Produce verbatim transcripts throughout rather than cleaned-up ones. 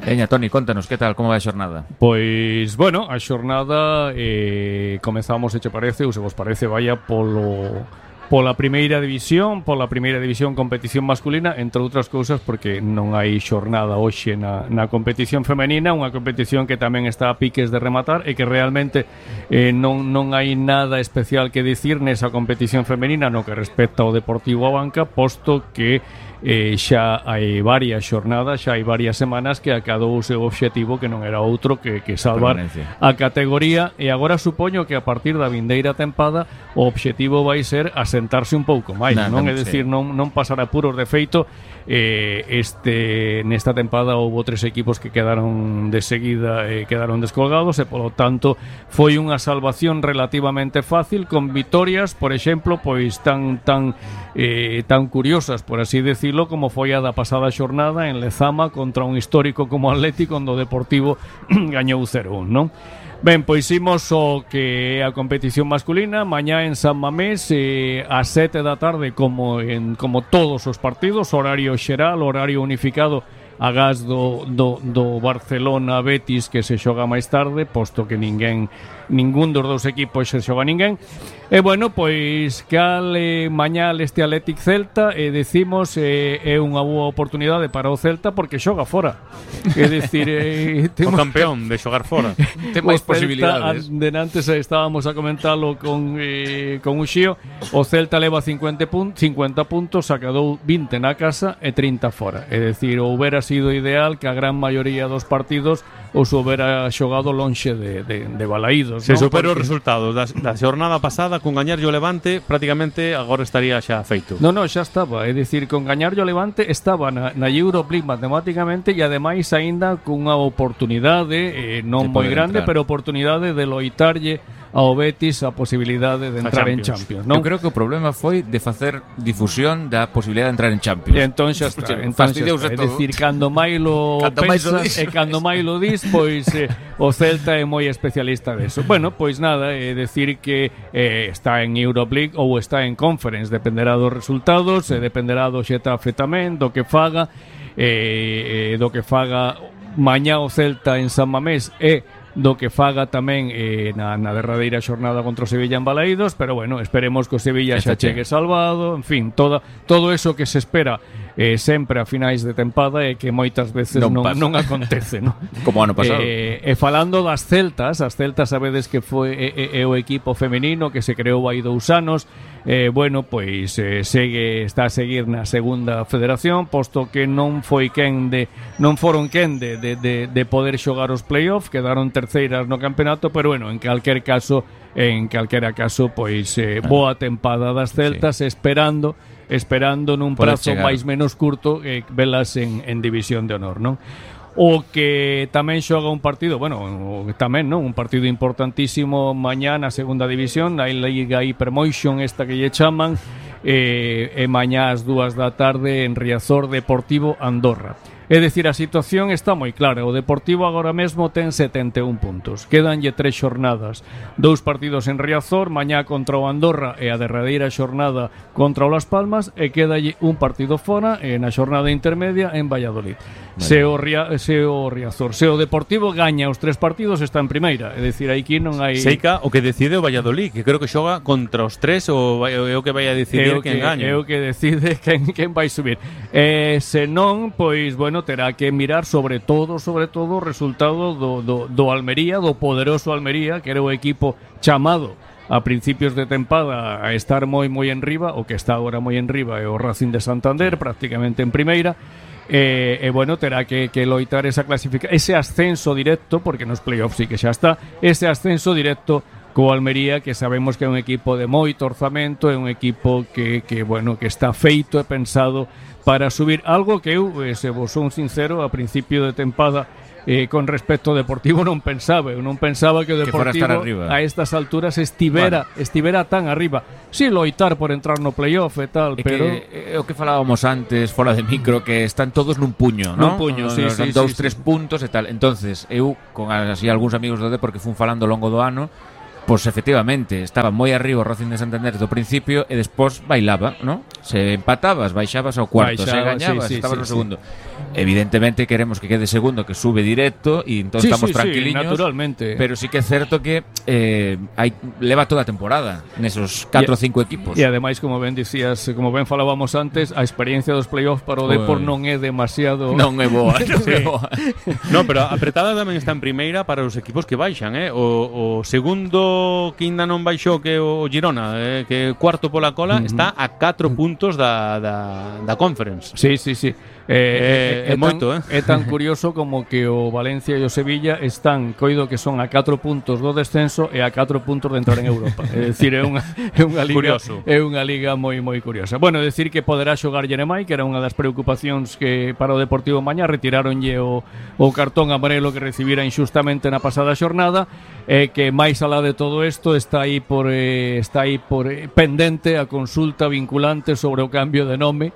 Veña, Toni, contanos, que tal, como vai a xornada? Pois, bueno, a xornada eh, comezamos, se che parece, ou se vos parece, vaya polo pola primeira división, pola primeira división competición masculina, entre outras cousas porque non hai xornada hoxe na, na competición femenina, unha competición que tamén está a piques de rematar e que realmente eh, non, non hai nada especial que dicir nesa competición femenina no que respecta ao Deportivo a Banca, posto que eh, xa hai varias xornadas, xa hai varias semanas que acadou o seu obxectivo que non era outro que, que salvar a categoría, e agora supoño que a partir da vindeira tempada o obxectivo vai ser asentarse un pouco máis, nah, non? É dicir, sí. non, non pasar apuros. De feito, eh, este nesta tempada houve tres equipos que quedaron de seguida eh, quedaron descolgados e polo tanto foi unha salvación relativamente fácil, con vitorias, por exemplo, pois tan tan eh, tan curiosas, por así decirlo, como foi a da pasada xornada en Lezama contra un histórico como Atlético, onde o Deportivo gañou cero un, non? Ben, pois imos o que é a competición masculina mañá en San Mamés eh, a sete da tarde, como en como todos os partidos, horario xeral, horario unificado, agás do, do, do Barcelona Betis, que se xoga máis tarde, posto que ninguén ningún dos dous equipos se xoga ninguén. E bueno, pois cal eh, mañá este Athletic Celta, e eh, decimos eh, é unha boa oportunidade para o Celta porque xoga fora. É dicir, eh, temos... o campeón de xogar fora. Ten máis posibilidades. Denantes estábamos a comentalo con eh, con Uxío. O Celta leva cincuenta puntos, sacadou vinte na casa e trinta fora. É dicir, houbera sido ideal que a gran maioría dos partidos os houbera xogado lonxe de, de, de Balaídos. Se superou os resultados da, da xornada pasada, con gañarlle o Levante, prácticamente agora estaría xa feito. Non, non, xa estaba. É dicir, con gañarlle o Levante estaba na, na Europe League matemáticamente, e ademais aínda cunha oportunidade eh, non moi grande, entrar. Pero oportunidade de loitarlle ao Betis a posibilidade de entrar Champions. en Champions, non? Eu creo que o problema foi de facer difusión da posibilidade de entrar en Champions. E entón xa está, entón xa está. É dicir, cando Mailo pensa e cando Mailo dis, pois eh, o Celta é moi especialista deso. Bueno, pois nada, é decir que eh, está en Europe League ou está en Conference, dependerá dos resultados, e dependerá do Xetafe tamén, do que faga, eh, do que faga mañá o Celta en San Mamés e do que faga tamén eh, na, na derradeira xornada contra o Sevilla en Balaídos, pero bueno, esperemos que o Sevilla xa chegue salvado, en fin, toda, todo eso que se espera eh, sempre a finais de tempada e que moitas veces non, non, non acontece, non? Como ano pasado. Eh, e falando das Celtas, as Celtas sabedes que foi é, é o equipo femenino que se creou hai dous anos. Eh, bueno, pois eh, segue, está a seguir na segunda federación, posto que non foi quen de non foron quen de, de, de, de poder xogar os playoff, quedaron terceiras no campeonato, pero bueno, en calquer caso en calquera caso, pois eh, boa tempada das Celtas, sí. esperando esperando nun prazo máis menos curto eh, velas en, en división de honor, non? O que tamén xoga un partido, bueno, tamén, non? Un partido importantísimo mañá na segunda división, na Liga Hypermotion, esta que lle chaman, e, e mañá ás dúas da tarde en Riazor, Deportivo Andorra. É dicir, a situación está moi clara. O Deportivo agora mesmo ten setenta e un puntos. Quédanlle tres xornadas. Dous partidos en Riazor, mañá contra o Andorra e a derradeira xornada contra o Las Palmas, e quédalle un partido fora e na xornada intermedia en Valladolid. Vale. Se, o Ria, se o Riazor, se o Deportivo gaña os tres partidos, está en primeira. É dicir, aquí non hai... Seica o que decide o Valladolid, que creo que xoga contra os tres, ou é o que vai a decidir quen gaña. É o que decide quen, quen vai subir. E se non, pois, bueno, terá que mirar sobre todo, sobre todo o resultado do, do, do Almería, do poderoso Almería, que era o equipo chamado a principios de tempada a estar moi moi en riba, o que está agora moi en riba é o Racing de Santander, prácticamente en primeira. E, e bueno, terá que, que loitar esa clasificación, ese ascenso directo, porque nos playoffs sí que xa está, ese ascenso directo co Almería, que sabemos que é un equipo de moito orzamento, é un equipo que, que bueno, que está feito e pensado para subir, algo que eu, eh, se vos son sincero, a principio de tempada eh, con respecto ao Deportivo non pensaba, eu non pensaba que o Deportivo que a estas alturas estivera bueno. estivera tan arriba. Si sí, loitar por entrar no playoff e tal, e pero que, é o que falábamos antes fora de micro, que están todos nun puño, non? Nun puño, sí, sí, sí, dous, sí, tres sí. puntos e tal. Entonces, eu con así algúns amigos do Depor que fun falando ao longo do ano, pois efectivamente estaba moi arriba o Racing de Santander do principio e despois bailaba, non? Se empatabas, baixabas ao cuarto, Baixaba, se gañabas, sí, sí, estabas sí, no sí. segundo. Evidentemente queremos que quede segundo, que sube directo e entón Sí, estamos sí, sí, tranquiliños. naturalmente. Pero sí que é certo que eh, hai, leva toda a temporada nesos catro ou cinco equipos. E ademais, como ben dicías, como ben falábamos antes, a experiencia dos playoffs para o Depor Ui. non é demasiado... Non é boa, non é Sí. boa. No, pero apretada tamén está en primeira para os equipos que baixan, eh? O, o segundo que ainda non baixou, que é o Girona, eh? que é cuarto pola cola, uh -huh. está a catro puntos da, da, da Conference. Sí, sí, sí. Eh, É- é moito, eh? É tan curioso como que o Valencia e o Sevilla están, coido que son a catro puntos do descenso e a catro puntos de entrar en Europa. É dicir, é unha, é unha liga Curioso. é unha liga moi moi curiosa. Bueno, decir que poderá xogar Jeremai, que era unha das preocupacións que para o Deportivo mañá retiraronlle o, o cartón amarelo que recibira inxustamente na pasada xornada, e que máis alá de todo isto está aí por eh, está aí por eh, pendente a consulta vinculante sobre o cambio de nome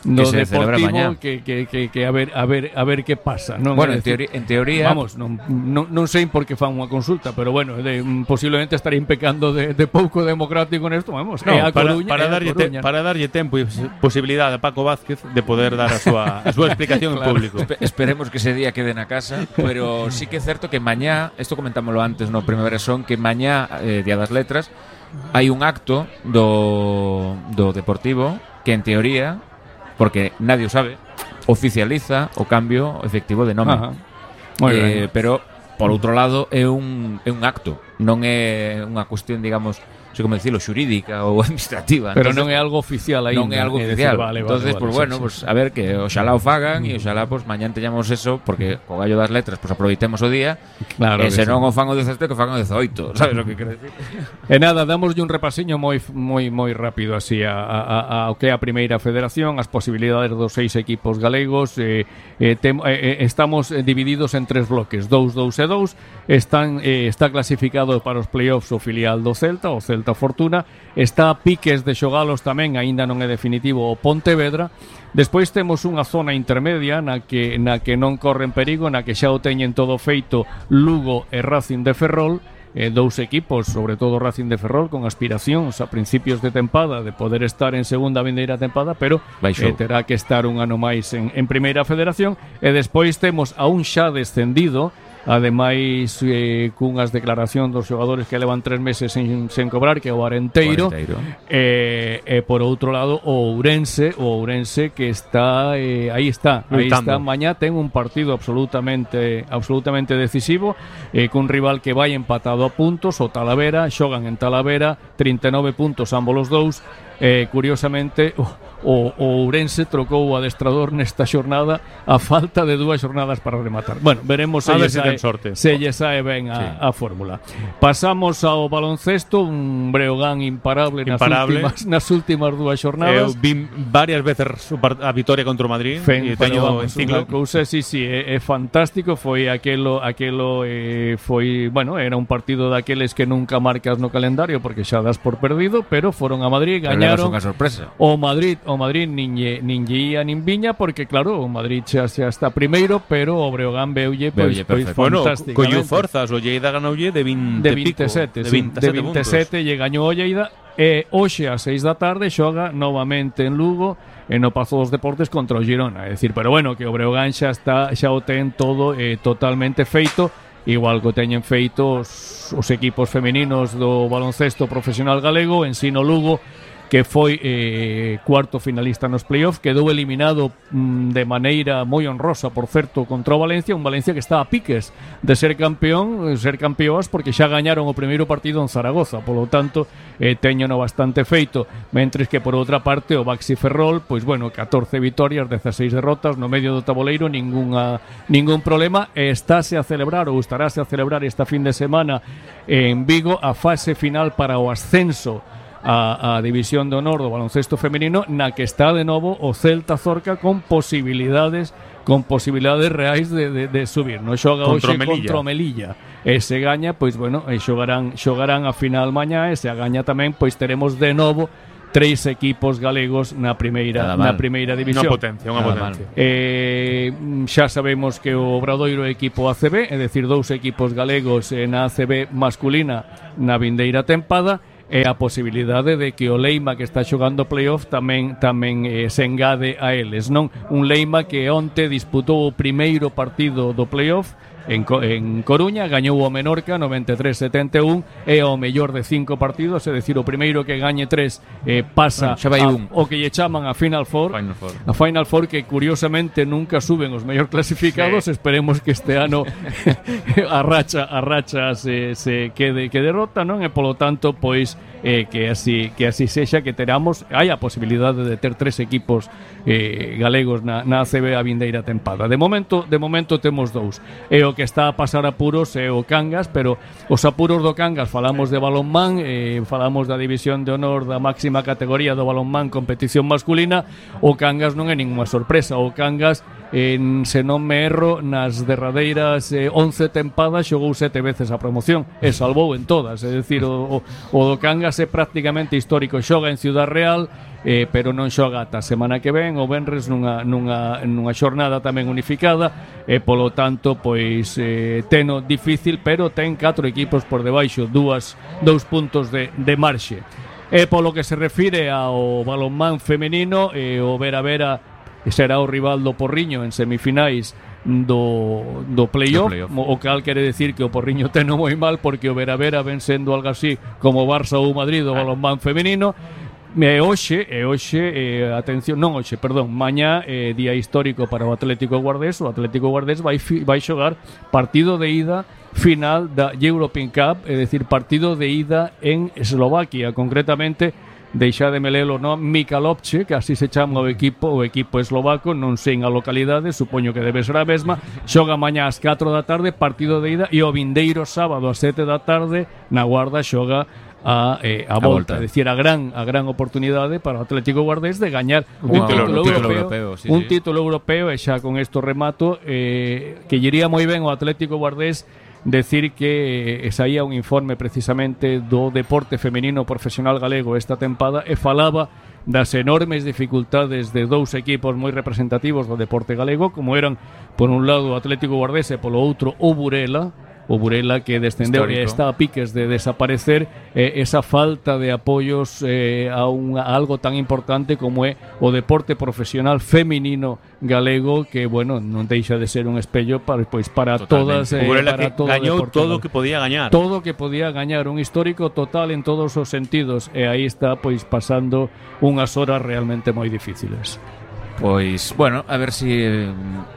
no Que se celebra mañá. Deportivo, que, que, que, que a ver a ver a ver que pasa, non? Bueno, É en decir, teoría, en teoría vamos, non, non, non sei por que fan unha consulta, pero bueno, de, mm, posiblemente estarían pecando de, de pouco democrático nesto, vamos, No, é a para, Coruña, para, é a darlle te, Coruña. para darlle tempo e posibilidade a Paco Vázquez de poder dar a súa, a súa explicación Claro. en público. Espe- esperemos que ese día quede na casa, pero sí que é certo que mañá, isto comentámoslo antes no Primavera Son, que mañá, eh, Día das Letras, hai un acto do, do Deportivo que en teoría, porque nadie o sabe, oficializa o cambio efectivo de nome. Ajá. Moi Eh, ben. pero por outro lado é un, é un acto, non é unha cuestión, digamos, non sei como dicilo, xurídica ou administrativa. Pero Entonces, non é algo oficial aí. non é algo oficial. Entonces, pues bueno, sí, pues sí. a ver que oxalá o fagan e oxalá pues mañá teñamos eso, porque co gallo das letras pues aproveitemos o día. Claro E que se sí. non o fan o dezasete, que o fan o dezoito, sabes o que quero decir? E nada, damoslle un repasiño moi moi moi rápido así a, a, a, a o que é a primeira federación, as posibilidades dos seis equipos galegos. eh, eh, tem, eh, estamos divididos en tres bloques, dous, dous e dous. Están, eh, está clasificado para os playoffs o filial do Celta, o Celta Fortuna. Está a piques de xogalos tamén, aínda non é definitivo, o Pontevedra. Despois temos unha zona intermedia na que, na que non corren perigo, na que xa o teñen todo feito Lugo e Racing de Ferrol. Eh, dous equipos, sobre todo Racing de Ferrol, con aspiracións a principios de tempada de poder estar en segunda vindeira tempada, pero eh, Baixou. terá que estar un ano máis en, en primeira federación. E despois temos a un xa descendido, ademais eh, cunhas declaracións dos xogadores que levan tres meses sen, sen cobrar, que é o Arenteiro. Cuarenteiro. E, e por outro lado o Ourense, o Ourense que está eh, aí está, aí está, Loitando. mañá ten un partido absolutamente absolutamente decisivo, eh, cun rival que vai empatado a puntos, o Talavera, xogan en Talavera, trinta e nove puntos ambos os dous. Eh, curiosamente o, o, o Ourense trocou o adestrador nesta xornada a falta de dúas xornadas para rematar. Bueno, veremos se A lle ver se sae, ten sorte. se lle sae ben a, Sí. a fórmula. Pasamos ao baloncesto, un Breogán imparable, Imparable. nas últimas nas últimas dúas Eu xornadas. vi varias veces o par- a vitória contra o Madrid Fen, e pero teño vamos, enciclo. unha cousa, sí, sí, é, é fantástico. Foi aquelo, aquelo eh, foi, bueno, era un partido daqueles que nunca marcas no calendario porque xa das por perdido, pero foron a Madrid, Pero levas gañaron. unha sorpresa. O Madrid, o Madrid nin lle, nin lle ia nin viña, porque claro, o Madrid xa, xa está primeiro, pero o Breogán veulle pois, Veulle pois perfecto. Bueno, fantásticamente. collo forzas, o Lleida ganoulle de vinte de pico, veintisiete, de sí, veintisiete, de veintisiete lle gañou o Lleida. E hoxe ás seis da tarde xoga novamente en Lugo e no Pazo dos Deportes contra o Girona. É dicir, pero bueno, que o Breogán xa está, xa o ten todo eh, totalmente feito, igual que o teñen feito os, os equipos femininos do baloncesto profesional galego. Ensino Lugo, que foi eh, cuarto finalista nos playoffs, quedou eliminado mm, de maneira moi honrosa, por certo, contra o Valencia, un Valencia que está a piques de ser campeón, ser campeoas, porque xa gañaron o primeiro partido en Zaragoza, polo tanto, eh, teñono bastante feito, mentres que por outra parte o Baxi Ferrol, pois bueno, catorce vitorias, dezaseis derrotas, no medio do tabuleiro, ningunha, ningún problema, e estáse a celebrar, ou estaráse a celebrar esta fin de semana en Vigo, a fase final para o ascenso a, a División de Honor do baloncesto femenino, na que está de novo o Celta Zorca con posibilidades con posibilidades reais de, de, de subir. No xoga Contra hoxe o Melilla. contra o Melilla. E se gaña, pois bueno, e xogarán xogarán a final mañá, e se a gaña tamén, pois teremos de novo tres equipos galegos na primeira Nada mal. na primeira división. Unha potencia, unha Nada potencia. Eh, xa sabemos que o Obradoiro é equipo A C B, é dicir, dous equipos galegos eh, na A C B masculina na vindeira tempada. e a posibilidade de que o Leima que está xogando playoff tamén tamén eh, se engade a eles, non? Un Leima que onte disputou o primeiro partido do playoff En, Co en Coruña, gañou o Menorca noventa e tres a setenta e un, é o mellor de cinco partidos, é dicir, o primeiro que gañe tres eh, pasa bueno, a, o que lle chaman a Final Four, Final Four, a Final Four que curiosamente nunca suben os mellor clasificados, sí. Esperemos que este ano a racha a racha se, se quede que derrota, non? E polo tanto, pois eh, que así que así sexa, que teramos hai a posibilidade de ter tres equipos eh, galegos na, na A C B a vindeira tempada. De momento, de momento temos dous. E o que está a pasar apuros é o Cangas, pero os apuros do Cangas falamos de balonmán, eh, falamos da división de honor da máxima categoría do balonmán competición masculina. O Cangas non é ninguna sorpresa. O Cangas, en, se non me erro, nas derradeiras eh, once tempadas xogou sete veces a promoción e salvou en todas, é dicir, o, o, o do Cangas é prácticamente histórico. Xoga en Ciudad Real, Eh, pero non xoga ata a semana que ven o venres nunha, nunha, nunha xornada tamén unificada e polo tanto pois eh, teno difícil, pero ten catro equipos por debaixo, dúas, dous puntos de, de marxe. E polo que se refire ao balonmán femenino, eh, o Vera Vera será o rival do Porriño en semifinais do, do playoff, play o cal quere decir que o Porriño teno moi mal, porque o Vera Vera ven sendo algo así como Barça ou Madrid do balonmán femenino. E hoxe, e hoxe eh, atención, non hoxe, perdón, mañá eh, día histórico para o Atlético Guardés. O Atlético Guardés vai, vai xogar partido de ida final da European Cup, é dicir, partido de ida en Eslovaquia, concretamente deixademe lelo, non? Michalovce, que así se chama o equipo, o equipo eslovaco, non sei a localidade, supoño que debe ser a mesma. Xoga mañá ás catro da tarde, partido de ida, e o vindeiro sábado ás sete da tarde na Guarda xoga a, eh, a, a volta, é dicir, a gran a gran oportunidade para o Atlético Guardés de gañar un, un título, título europeo, europeo sí, un sí. título europeo. E xa con isto remato, eh, que lle iría moi ben ao Atlético Guardés decir que eh, saía un informe precisamente do deporte femenino profesional galego esta tempada e falaba das enormes dificultades de dous equipos moi representativos do deporte galego, como eran por un lado o Atlético Guardés e polo outro o Burela. O Burela, que descendeu e está a piques de desaparecer, eh, esa falta de apoios eh, a, un, a algo tan importante como é o deporte profesional feminino galego, que, bueno, non deixa de ser un espello para, pois, para todas eh, o Burela para que todo gañou todo o que podía gañar todo o que podía gañar, un histórico total en todos os sentidos, e aí está pois pasando unhas horas realmente moi difíciles. Pois, bueno, a ver si eh,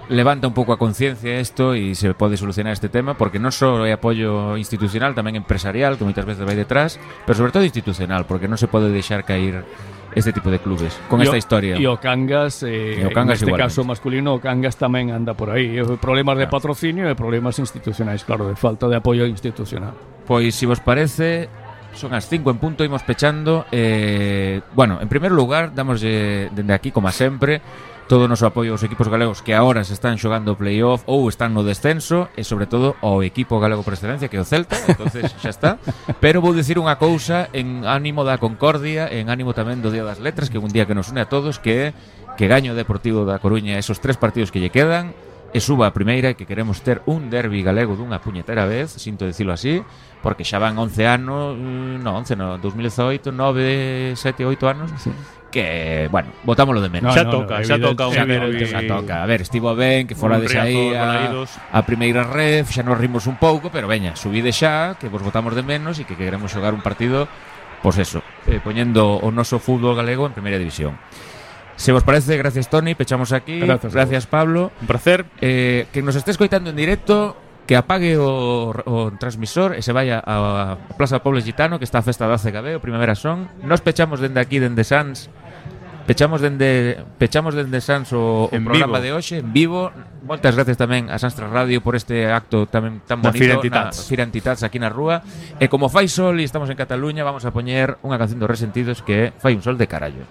levanta un pouco a conciencia isto e se pode solucionar este tema, porque non só é apoio institucional, tamén empresarial, que moitas veces vai detrás, pero sobre todo institucional, porque non se pode deixar cair este tipo de clubes con y esta o, historia. E o Cangas, eh, o Cangas en este igualmente. Caso masculino, o Cangas tamén anda por aí, problemas de patrocinio e problemas institucionais, claro, de falta de apoio institucional. Pois, se vos parece, son as cinco en punto, imos pechando. eh, Bueno, en primeiro lugar, damos dende aquí, como a sempre, todo o noso apoio aos equipos galegos que agora se están xogando o playoff ou están no descenso, e sobre todo ao equipo galego por excelencia, que é o Celta. Entonces xa está. Pero vou dicir unha cousa en ánimo da concordia, en ánimo tamén do Día das Letras, que é un día que nos une a todos, que é que gaño o Deportivo da Coruña esos tres partidos que lle quedan e suba a primeira, e que queremos ter un derbi galego dunha puñetera vez, sinto dicilo así, porque xa van once anos, no, once no, dos mil dezaoito, nove, sete, oito anos, sí. Que, bueno, botámoslo de menos. No, xa no, toca, no, xa toca, xa, toca, xa toca. A ver, estivo ben que fora de aí a, a primeira ref, xa nos rimos un pouco, pero veña, subide xa, que vos botamos de menos e que queremos xogar un partido, pois eso, eh, poñendo o noso fútbol galego en primeira división. Se vos parece, gracias Toni, pechamos aquí. Gracias, gracias Pablo. Un placer. Eh, que nos esté escoitando en directo, que apague o, o transmisor e se vaya a, a Plaza Poble Gitano, que está a festa da C G B, o Primavera Son. Nos pechamos dende aquí, dende Sans. Pechamos dende pechamos dende Sans o, o programa vivo de hoxe en vivo. Moitas gracias tamén a Sanstra Radio por este acto tamén tan bonito na Fira Antitats aquí na rúa. E como fai sol e estamos en Cataluña, vamos a poñer unha canción dos Resentidos que é Fai un sol de carallo.